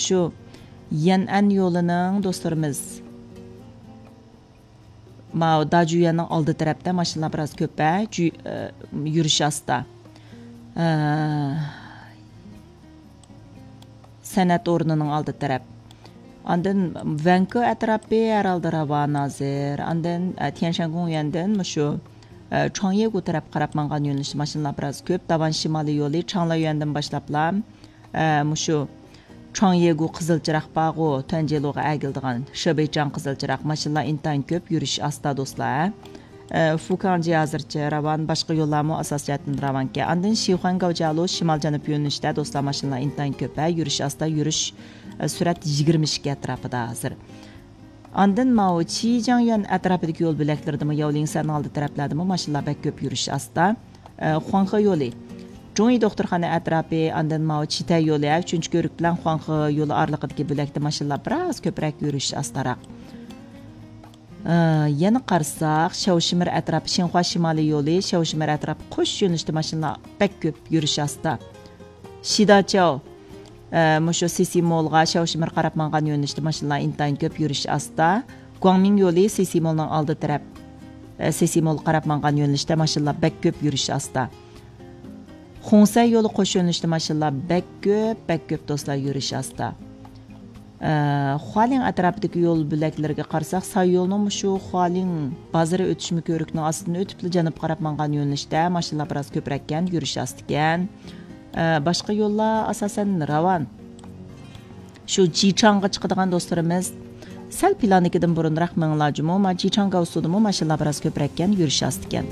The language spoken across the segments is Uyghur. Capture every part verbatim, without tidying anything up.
شۇ يەنئەن يولىنىڭ دوستلىرىمىز، ماۋۇ داجۈيەننىڭ ئالدى تەرەپتە ماشىنىلار بىراز كۆپ، ھە، جۈ-، ئە، يۈرۈش ئاستا. ئە، سەنئەت ئورنىنىڭ ئالدى تەرەپ. ئاندىن ۋەنكۇ ئەتراپى ھەرھالدا راۋان ھازىر. ئاندىن، ئە، تيەنشەن گوڭيۈەندىن مۇشۇ، ئە، چاڭيېگۇ تەرەپ قاراپ ماڭغان يۆنىلىشتە ماشىنىلار بىراز كۆپ. داۋان شىمالىي يولى چاڭلايۈەندىن باشلاپلا، ئە، مۇشۇ چاڭيېگۇ قىزىل چىراغ بارغۇ، تۇەنجېلۇغا ئەگىلىدىغان شېبېيچاڭ قىزىل چىراغ ماشىنىلار ئىنتايىن كۆپ، يۈرۈش ئاستا دوستلار. ئە، فۇكاڭجى ھازىرچە راۋان، باشقا يوللارمۇ ئاساسىي جەھەتتىن راۋانكەن. ئاندىن شىخۇەن گاۋجيالۇ شىمال جەنۇب يۆنىلىشتە دوستلار ماشىنىلار ئىنتايىن كۆپ، ھە، يۈرۈش ئاستا، يۈرۈش، ئە، سۈرئەت يىگىرمە ئىككى ئەتراپىدا ھازىر. ئاندىن ماۋۇ چىجياڭيۈەن ئەتراپىدىكى يول بۆلەكلىرىدىمۇ، ياۋلىڭسەننىڭ ئالدى تەرەپلەردىمۇ ماشىنىلار بەك كۆپ، يۈرۈش ئاستا. ئە، خۇاڭخې يولى، جۇڭيى دوختۇرخانا ئەتراپى، ئاندىن ماۋۇ چىتەي يولى، ئە، ئۈچىنچى كۆۋرۈك بىلەن خۇاڭخې يولى ئارىلىقىدىكى بۆلەكتە ماشىنىلار بىراز كۆپرەك، يۈرۈش ئاستاراق. ئە، يەنە قارىساق، شياۋشىمىر ئەتراپى، شىنخۇا شىمالىي يولى، شياۋشىمىر ئەتراپى قوش يۆنىلىشتە ماشىنىلار بەك كۆپ، يۈرۈش ئاستا. شىداچياۋ، ئە، مۇشۇ سىسىمولغا، شياۋشىمىر قاراپ ماڭغان يۆنىلىشتە ماشىنىلار ئىنتايىن كۆپ، يۈرۈش ئاستا. گۇاڭمىڭ يولى سىسىمولنىڭ ئالدى تەرەپ، ئە، سىسىمولغا قاراپ ماڭغان يۆنىلىشتە ماشىنىلار بەك كۆپ، يۈرۈش ئاستا. خۇڭسەي يولى قوش يۆنىلىشتە ماشىنىلار بەك كۆپ، بەك كۆپ دوستلار، يۈرۈش ئاستا. ئە، خۇالىڭ ئەتراپىدىكى يول بۆلەكلىرىگە قارىساق، ساي يولىنىڭ مۇشۇ خۇالىڭ بازىرى ئۆتۈشمە كۆۋرۈكنىڭ ئاستىدىن ئۆتۈپلا جەنۇبقا قاراپ ماڭغان يۆنىلىشتە ماشىنىلار بىراز كۆپرەككەن، يۈرۈش ئاستىكەن. ئە، باشقا يوللار ئاساسەن راۋان. شۇ جىچاڭغا چىقىدىغان دوستلىرىمىز سەل پىلاندىكىدىن بۇرۇنراق مېڭىڭلار جۇمۇ، ما جىچاڭ گاۋسۇدىمۇ ماشىنىلار بىراز كۆپرەككەن، يۈرۈش ئاستىكەن.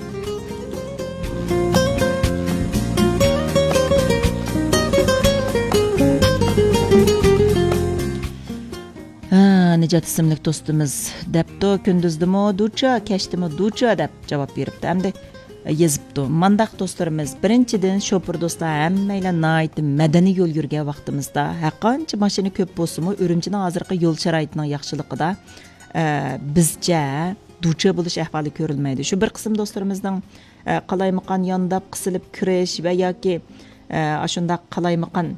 ھە، نىجات ئىسىملىك دوستىمىز دەپتۇ، كۈندۈزدىمۇ دۇچا، كەچتىمۇ دۇچا دەپ جاۋاب بېرىپتۇ. ئەمدى يېزىپتۇ. مانداق دوستلىرىمىز، بىرىنچىدىن، شوپۇر دوستلار، ھەممەيلەن ناھايىتى مەدەنىي يول يۈرگەن ۋاقتىمىزدا، ھەرقانچە ماشىنا كۆپ بولسىمۇ، ئۈرۈمچىنىڭ ھازىرقى يول شارائىتىنىڭ ياخشىلىقىدا، ئە، بىزچە دۇچا بولۇش ئەھۋالى كۆرۈلمەيدۇ. شۇ بىر قىسىم دوستلىرىمىزنىڭ، ئە، قالايمىقان يانداپ قىسىلىپ كىرىش ۋە ياكى، ئە، ئاشۇنداق قالايمىقان،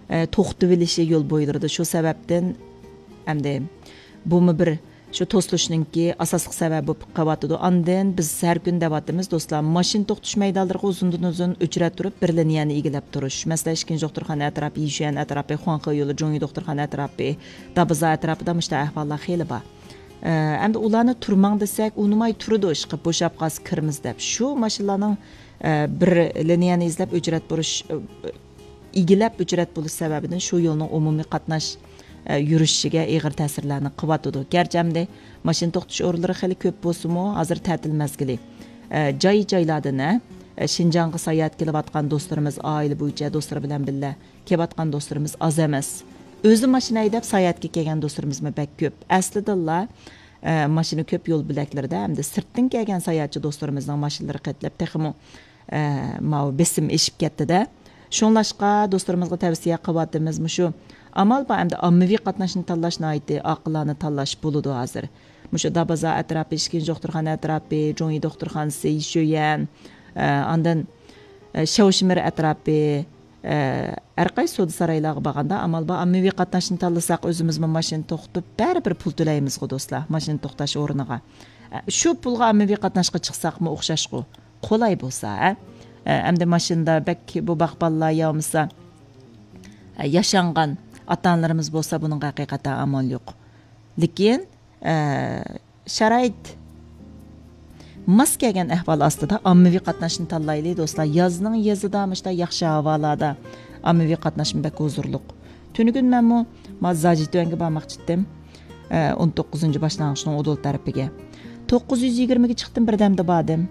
ئە، توختىۋېلىشى يول بويلىرىدا. شۇ سەۋەبتىن ئەمدى بۇمۇ بىر شۇ توسۇلۇشنىڭكى ئاساسلىق سەۋەبى بولۇپ قېلىۋاتىدۇ. ئاندىن بىز ھەر كۈنى دەۋاتىمىز، دوستلار، ماشىنا توختىتىش مەيدانلىرىغا ئۇزۇندىن ئۇزۇن ئۆچرەت تۇرۇپ، بىر لىنىيەنى ئىگىلەپ تۇرۇش. مەسىلەن، ئىككىنچى دوختۇرخانا ئەتراپى، يىشۈەن ئەتراپى، خۇاڭخې يولى، جۇڭيى دوختۇرخانا ئەتراپى، دابىزا ئەتراپىدا مۇشۇنداق ئەھۋاللار خېلى بار. ئە، ئەمدى ئۇلارنى تۇرماڭ دېسەك، ئۇنىماي تۇرىدۇ، ئىشقىلىپ بوشاپ قالسا كىرىمىز دەپ. شۇ ماشىنىلارنىڭ، ئە، بىر لىنىيەنى ئىزدەپ ئۆچرەت بولۇش، ئە، ئىگىلەپ ئۆچرەت بولۇش سەۋەبىدىن شۇ يولنىڭ ئومۇمىي قاتناش، ئە، يۈرۈشىگە ئېغىر تەسىرلەرنى قىلىۋاتىدۇ. گەرچە ئەمدى ماشىنا توختىتىش ئورۇنلىرى خېلى كۆپ بولسىمۇ، ھازىر تەتىل مەزگىلى. ئە، جاي-جايلاردىن، ئە، شىنجاڭغا ساياھەتكە كېلىۋاتقان دوستلىرىمىز، ئائىلە بويىچە دوستلىرى بىلەن بىللە كېلىۋاتقان دوستلىرىمىز ئاز ئەمەس. ئۆزى ماشىنا ھەيدەپ ساياھەتكە كەلگەن دوستلىرىمىزمۇ بەك كۆپ. ئەسلىدىنلا، ئە، ماشىنا كۆپ يول بۆلەكلىرىدە ھەمدە سىرتتىن كەلگەن ساياھەتچى دوستلىرىمىزنىڭ ماشىنىلىرى قېتىلاپ تېخىمۇ، ئە، ماۋۇ بېسىم ئېشىپ كەتتى-دە. شۇڭلاشقا دوستلىرىمىزغا تەۋسىيە قىلىۋاتىمىز، مۇشۇ ئامال بار ئەمدى ئاممىۋى قاتناشنى تاللاش ناھايىتى ئاقىلانە تاللاش بولىدۇ ھازىر. مۇشۇ دابازا ئەتراپى، ئىككىنچى دوختۇرخانا ئەتراپى، جۇڭيى دوختۇرخانىسى، يىشۈيەن، ئە، ئاندىن، ئە، شياۋشىمىر ئەتراپى، ئە، ھەر قايسى سودا سارايلارغا بارغاندا ئامال بار ئاممىۋى قاتناشنى تاللىساق، ئۆزىمىزمۇ ماشىنا توختىتىپ، بەرىبىر پۇل تۆلەيمىزغۇ دوستلار، ماشىنا توختاش ئورنىغا. ئە، شۇ پۇلغا ئاممىۋى قاتناشقا چىقساقمۇ ئوخشاشقۇ. قولاي بولسا، ھە؟ ئە، ئەمدى ماشىنىدا بەك بۇ باغپانلار يا بولمىسا، ئە، ياشانغان ئاتا-ئانىلىرىمىز بولسا، بۇنىڭغا ھەقىقەتەن ئامال يوق. لېكىن، ئە، شارائىت ماس كەلگەن ئەھۋال ئاستىدا ئاممىۋى قاتناشنى تاللايلى، دوستلار. يازنىڭ يېزىدا مۇشۇنداق ياخشى ھاۋالاردا ئاممىۋى قاتناشمۇ بەك ھۇزۇرلۇق. تۈنۈگۈن مەنمۇ ما زاجىتۈەنگە بارماقچى ئىدىم. ئە، ئون توققۇزىنچى باشلانغۇچنىڭ ئۇدۇل تەرىپىگە. توققۇز يۈز يىگىرمىگە چىقتىم، بىردەمدە باردىم.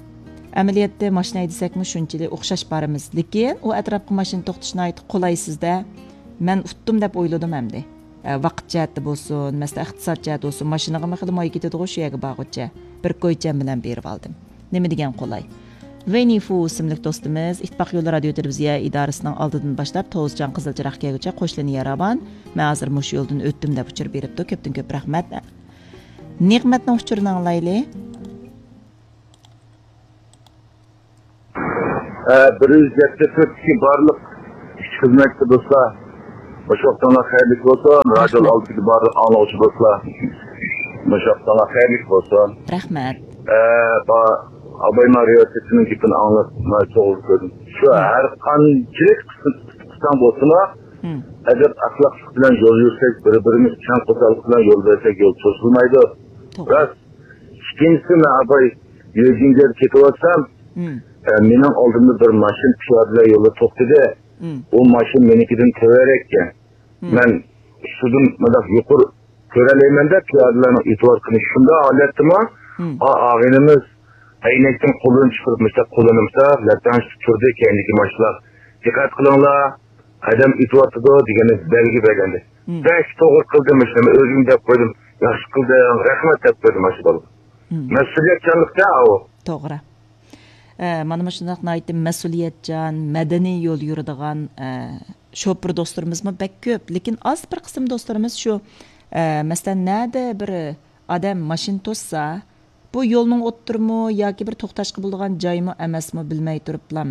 ئەمەلىيەتتە ماشىنا ھەيدىسەكمۇ شۇنچىلىك ئوخشاش بارىمىز. لېكىن ئۇ ئەتراپقا ماشىنا توختىتىش ناھايىتى قولايسىز-دە. مەن ئۇتتۇم دەپ ئويلىدىم ئەمدى. ئە، ۋاقىت جەھەتتە بولسۇن، مەسىلەن، ئىقتىساد جەھەتتە بولسۇن، ماشىنىغىمۇ خېلى ماي كېتىدىغۇ شۇ يەرگە بارغۇچە. بىر كويچەن بىلەن بېرىۋالدىم. نېمە دېگەن قولاي. ۋېي نىفۇ ئىسىملىك دوستىمىز، ئىتتىپاق يولى رادىيو تېلېۋىزىيە ئىدارىسىنىڭ ئالدىدىن باشلاپ، توزچان قىزىل چىراغ كەلگۈچە قوش لىنىيە راۋان. مەن ھازىر مۇشۇ يولدىن ئۆتتۈم دەپ ئۇچۇر بېرىپتۇ. كۆپتىن كۆپ رەھمەت. نېمەتنىڭ ئۇچۇرىنى ئاڭلايلى. ئە، بىر يۈز يەتتە تۆتتىكى بارلىق ئىش خىزمەتچى دوستلار، مۇشۇ ۋاقتىڭلار خەيرلىك بولسۇن، رادىيو ئالدىدىكى بارلىق ئاڭلىغۇچى دوستلار. مۇشۇ ۋاقتىڭلار خەيرلىك بولسۇن. رەھمەت. ئە، با-، ئابايما رىۋايەتچىسىنىڭ گېپىنى ئاڭلاپ، مانا توغرا كۆردۈم. شۇ ھەر قانچىلىك قىسساڭ بولسىمۇ، ئەدەپ ئەخلاقلىق بىلەن يول يۈرسەك، بىر-بىرىمىز چىڭ قورساقلىق بىلەن يول بەرسەك، يول توسۇلمايدۇ. توغرا. راست. ئىككىنچىسى، مەن ئاباي يۆجىنگەدە كېتىۋاتسام، ئە، مېنىڭ ئالدىمدا بىر ماشىنا پىيادىلەر يولدا توختىدى. ئۇ ماشىنا مېنىڭكىدىن تۆۋەنرەككەن. مەن ئۈستىدىن مۇنداق يۇقىرى كۆرەلەيمەن-دە، پىيادىلەرنىڭ ئېتىبار قىلىشى. شۇنداق ھالەتتىمۇ، ئا، ئاغىنىمىز ئەينەكتىن قولىنى چىقىرىپ، مۇشۇنداق قولىنى مۇشۇنداق لەپتەڭشىتىپ تۇردى، كەينىدىكى ماشىنىلار، «دىققەت قىلىڭلار، ئادەم ئېتىۋاتىدۇ» دېگەن بەلگە بەرگەندى. بەك توغرا قىلدىم، مۇشۇنى ئۆزۈم دەپ قويدۇم. «ياخشى قىلدىڭ، رەھمەت» دەپ قويدۇم ماشۇ بالىغا. مەسئۇلىيەتچانلىق-دە ئاۋۇ. توغرا. ئە، مانا مۇشۇنداق ناھايىتى مەسئۇلىيەتچان، مەدەنىي يول يۈرىدىغان، ئە، شوپۇر دوستلىرىمىزمۇ بەك كۆپ. لېكىن ئاز بىر قىسىم دوستلىرىمىز شۇ، ئە، مەسىلەن، نەدە بىر ئادەم ماشىنا توسسا، بۇ يولنىڭ ئوتتۇرىمۇ ياكى بىر توختاشقا بولىدىغان جايمۇ ئەمەسمۇ بىلمەي تۇرۇپلام.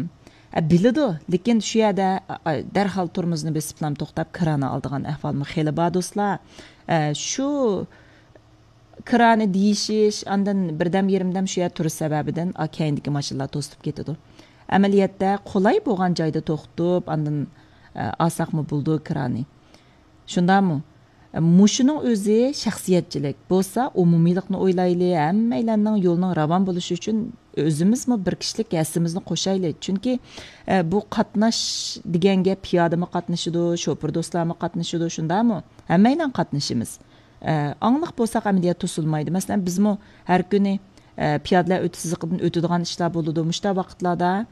ئە، بىلىدۇ، لېكىن شۇ يەردە، ئە، ئە، دەرھال تورمۇزنى بېسىپلام توختاپ، كىرانى ئالىدىغان ئەھۋالمۇ خېلى بار دوستلار. ئە، شۇ كىرانى دېيىشىش، ئاندىن بىردەم يېرىمدەم شۇ يەردە تۇرۇش سەۋەبىدىن، ئا، كەينىدىكى ماشىنىلار توسۇپ كېتىدۇ. ئەمەلىيەتتە قولاي بولغان جايدا توختىتىپ، ئاندىن، ئە، ئالساقمۇ بولىدۇ كىرانى. شۇنداقمۇ؟ مۇشۇنىڭ ئۆزى شەخسىيەتچىلىك. بولسا ئومۇمىيلىقنى ئويلايلى، ھەممەيلەننىڭ يولىنىڭ راۋان بولۇشى ئۈچۈن ئۆزىمىزمۇ بىر كىشىلىك ھەسسىمىزنى قوشايلى. چۈنكى، ئە، بۇ قاتناش دېگەن گەپ پىيادىمۇ قاتنىشىدۇ، شوپۇر دوستلارمۇ قاتنىشىدۇ، شۇنداقمۇ؟ ھەممەيلەن قاتنىشىمىز. ئە، ئاڭلىق بولساق ئەمەلىيەت توسۇلمايدۇ. مەسىلەن، بىزمۇ ھەر كۈنى، ئە، پىيادىلەر ئۆتۈش سىزىقىدىن ئۆتىدىغان ئىشلار بولىدۇ. مۇشۇنداق ۋاقىتلاردا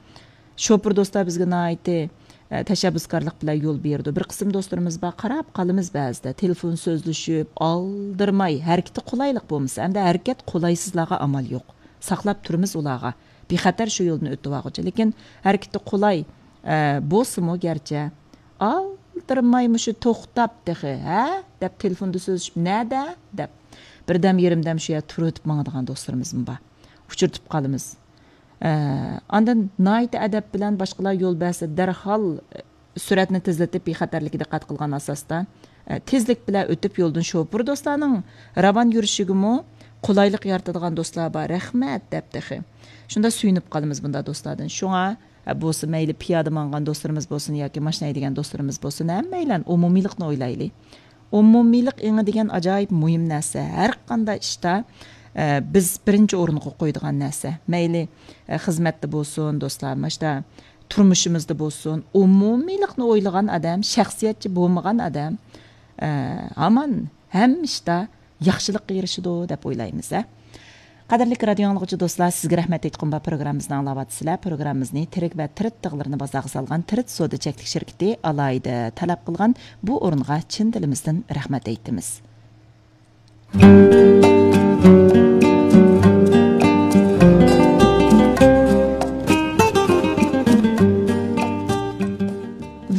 شوپۇر دوستلار بىزگە ناھايىتى، ئە، تەشەببۇسكارلىق بىلەن يول بېرىدۇ. بىر قىسىم دوستلىرىمىز بار، قاراپ قالىمىز بەزىدە. تېلېفون سۆزلىشىپ، ئالدىرىماي، ھەرىكىتى قولايلىق بولمىسا، ئەمدى ھەرىكەت قولايسىزلارغا ئامال يوق. ساقلاپ تۇرىمىز ئۇلارغا. بىخەتەر شۇ يولدىن ئۆتۈۋالغۇچە. لېكىن ھەرىكىتى قولاي، ئە، بولسىمۇ گەرچە، ئالدىرىماي مۇشۇ توختاپ تېخى، ھە؟ دەپ تېلېفوندا سۆزلىشىپ، نەدە؟ دەپ. بىردەم يېرىمدەم شۇ يەردە تۇرۇۋېتىپ ماڭىدىغان دوستلىرىمىزمۇ بار. ئۇچرىتىپ قالىمىز. ئە، ئاندىن ناھايىتى ئەدەپ بىلەن باشقىلار يول بەرسە، دەرھال، ئە، سۈرئەتنى تېزلىتىپ، بىخەتەرلىككە دىققەت قىلغان ئاساستا، ئە، تېزلىك بىلەن ئۆتۈپ يولدىن شوپۇر دوستلارنىڭ راۋان يۈرۈشىگىمۇ قولايلىق يارىتىدىغان دوستلار بار، رەھمەت دەپ تېخى. شۇندا سۆيۈنۈپ قالىمىز بۇنداق دوستلاردىن. شۇڭا، ئە، بولسا مەيلى پىيادە ماڭغان دوستلىرىمىز بولسۇن ياكى ماشىنا ھەيدىگەن دوستلىرىمىز بولسۇن، ھەممەيلەن ئومۇمىيلىقنى ئويلايلى. ئومۇمىيلىق ئېڭى دېگەن ئاجايىپ مۇھىم نەرسە. ھەر قانداق ئىشتا، ئە، بىز بىرىنچى ئورۇنغا قويىدىغان نەرسە. مەيلى، ئە، خىزمەتتە بولسۇن، دوستلار، مۇشتا تۇرمۇشىمىزدا بولسۇن، ئومۇمىيلىقنى ئويلىغان ئادەم، شەخسىيەتچى بولمىغان ئادەم، ئە، ھامان ھەممە ئىشتا ياخشىلىققا ئېرىشىدۇ دەپ ئويلايمىز، ھە. قەدىرلىك رادىيو ئاڭلىغۇچى دوستلار، سىزگە رەھمەت ئېيتقۇم بار، پروگراممىمىزنى ئاڭلاۋاتىسىلەر. پروگراممىمىزنى تىرىك ۋە تىرىت تىغلىرىنى بازارغا سالغان تىرىت سودا چەكلىك شىركىتى ئالاھىدە تەلەپ قىلغان بۇ ئورۇنغا چىن دىلىمىزدىن رەھمەت ئېيتىمىز.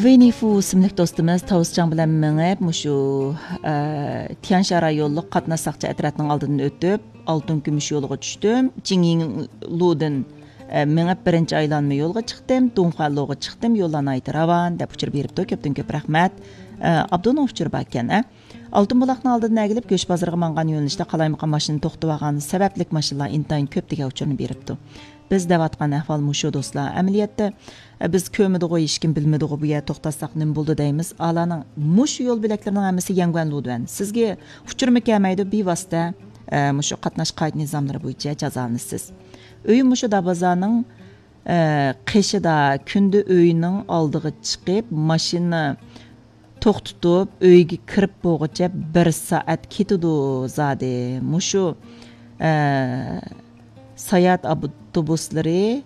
ۋىننى فۇ ئىسىملىك دوستىمىز تاۋۇسچاڭ بىلەن مېڭىپ، مۇشۇ، ئە، تيەنشان رايونلۇق قاتناش ساقچى ئەترەتنىڭ ئالدىدىن ئۆتۈپ، ئالتۇن كۈمۈش يولىغا چۈشتۈم. جىڭيىڭلۇدىن، ئە، مېڭىپ بىرىنچى ئايلانما يولغا چىقتىم، دۇڭخۇەنلۇغا چىقتىم، يوللار ناھايىتى راۋان، دەپ ئۇچۇر بېرىپتۇ. كۆپتىن كۆپ رەھمەت. ئە، ئابدۇنىڭ ئۇچۇرى باركەن، ئە. ئالتۇن بۇلاقنىڭ ئالدىدىن ئەگىلىپ، گۆش بازىرىغا ماڭغان يۆنىلىشتە قالايمىقان ماشىنا توختىتىۋالغان سەۋەبلىك ماشىنىلار ئىنتايىن كۆپ دېگەن ئۇچۇرنى بېرىپتۇ. بىز دەۋاتقان ئەھۋال مۇشۇ، دوستلار. ئەمەلىيەتتە، ئە، بىز كۆرمىدىغۇ، ھېچكىم بىلمىدىغۇ، بۇ يەردە توختاتساق نېمە بولىدۇ دەيمىز. ئالارنىڭ مۇشۇ يول بۆلەكلىرىنىڭ ھەممىسى يەنگۇەن لۇدۇەن. سىزگە ئۇچۇرمۇ كەلمەيدۇ، بىۋاسىتە، ئە، مۇشۇ قاتناش قائىدە نىزاملىرى بويىچە جازالىنىسىز. ئۆيۈم مۇشۇ دابازانىڭ، ئە، قېشىدا. كۈندە ئۆينىڭ ئالدىغا چىقىپ، ماشىنا توختىتىپ، ئۆيگە كىرىپ بولغۇچە بىر سائەت كېتىدۇ زادى. مۇشۇ، ئە، ساياھەت ئاپتوبۇسلىرى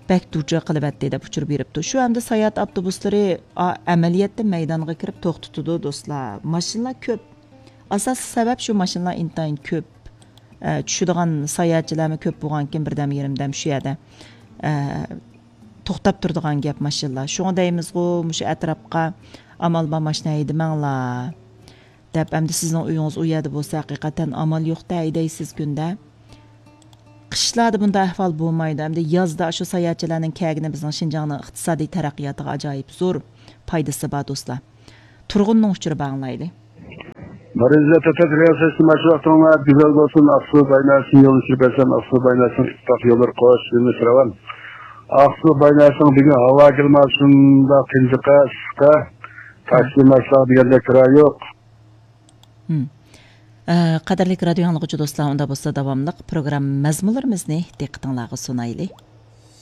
بەك دۇچار قىلىۋەتتى، دەپ ئۇچۇر بېرىپتۇ. شۇ ئەمدى ساياھەت ئاپتوبۇسلىرى، ئا، ئەمەلىيەتتە مەيدانغا كىرىپ توختىتىدۇ، دوستلار. ماشىنىلار كۆپ. ئاساسلىق سەۋەب شۇ، ماشىنىلار ئىنتايىن كۆپ. ئە، چۈشىدىغان ساياھەتچىلەرمۇ كۆپ بولغانكىن، بىردەم يېرىمدەم شۇ يەردە، ئە، توختاپ تۇرىدىغان گەپ ماشىنىلار. شۇڭا دەيمىزغۇ، مۇشۇ ئەتراپقا ئامال بار ماشىنا ھەيدىمەڭلار دەپ. ئەمدى سىزنىڭ ئۆيىڭىز ئۇ يەردە بولسا، ھەقىقەتەن ئامال يوق-تە، ھەيدەيسىز كۈندە. قىشلاردا بۇنداق ئەھۋال بولمايدۇ. ئەمدى يازدا شۇ ساياھەتچىلەرنىڭ كەلگىنى بىزنىڭ شىنجاڭنىڭ ئىقتىسادىي تەرەققىياتىغا ئاجايىپ زور پايدىسى بار، دوستلار. تۇرغۇننىڭ ئۇچۇرى بار، ئاڭلايلى. مارىزە تۆتەت رىياسەتچى ماشۇ ۋاقتىڭلار گۈزەل بولسۇن. ئاقسۇ بايناسىنى يولنى چۈشۈرۈپ بەرسەم، ئاقسۇ بايناسىنىڭ ئىتتىپاق يوللىرى قوش، يولنى سىراۋان. ئاقسۇ بايناسىنىڭ بۈگۈن ھاۋا كىلىماتى شۇنداق تىنچىقا، ئىسسىققا، تاكسى ماشىنا دېگەندەك كىرا يوق. ئە، قەدىرلىك رادىيو ئاڭلىغۇچى دوستلار، ئۇندا بولسا داۋاملىق پروگرامما مەزمۇنلىرىمىزنى دىققىتىڭلارغا سۇنايلى.